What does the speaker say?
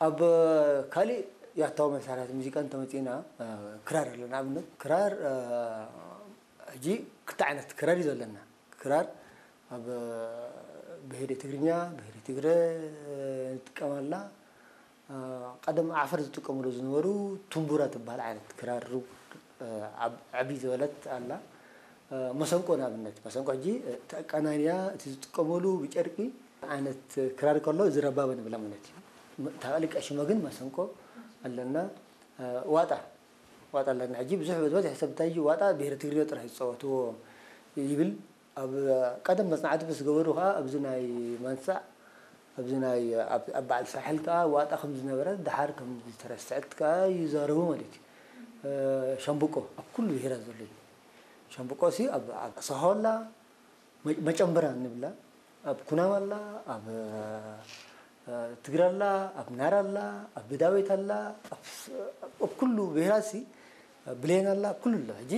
ኣብ ካሊእ ያታዊ መሳርሕታት ሙዚቃ እንተመፂእና፣ ክራር ኣሎ። ንኣብነት ክራር ሕጂ ክልተ ዓይነት ክራር እዩ ዘለና። ክራር ኣብ ብሄረ ትግርኛ፣ ብሄረ ትግረ ንጥቀመላ። ቀደም ዓፈር ዝጥቀምሉ ዝነበሩ ቱምቡራ ትበሃል ዓይነት ክራር፣ ዓብ- ዕብይ ዝበለት ኣላ። መሰንቆ ንኣብነት፣ መሰንቆ ሕጂ እቲ ኣቀናንያ፣ እቲ ዝጥቀመሉ ብጨርቂ ዓይነት ክራር ከሎ፣ እዚ ረባበ ንብላ ማለት እዩ። እታ ቀልቀ ሽማ ግን መሰንቆ ኣለና። ዋጣ፣ ዋጣ ኣለና። ሕጂ ብዙሕ ዝበዝሕ ሰብ እንታይ እዩ፣ ዋጣ ብሄረ ትግርኛ ጥራሕ ዝፃወትዎ ይብል። ኣብ ቀደም መፅናዕቲ ምስ ገበሩ ከዓ ኣብዚ ናይ ማንሳዕ፣ ኣብዚ ናይ ኣብ ኣብ በዓል ሳሕል ከዓ ዋጣ ከም ዝነበረ፣ ደሓር ከም ዝተረስዐት ከዓ ይዛረቡ ማለት እዩ። ሸምብቆ ኣብ ኩሉ ብሄራት ዘሎ እዩ። ሸምብቆ ሲ ኣብ ኣብ ሰሆላ፣ መጨንበራ ንብላ፣ ኣብ ኩናማ ኣላ፣ ኣብ ትግረ ኣላ፣ ኣብ ናራ ኣላ፣ ኣብ ብዳቤት ኣላ፣ ኣብ ኩሉ ብሄራት ሲ ብሌን ኣላ፣ ኣብ ኩሉ ኣሎ። ሕጂ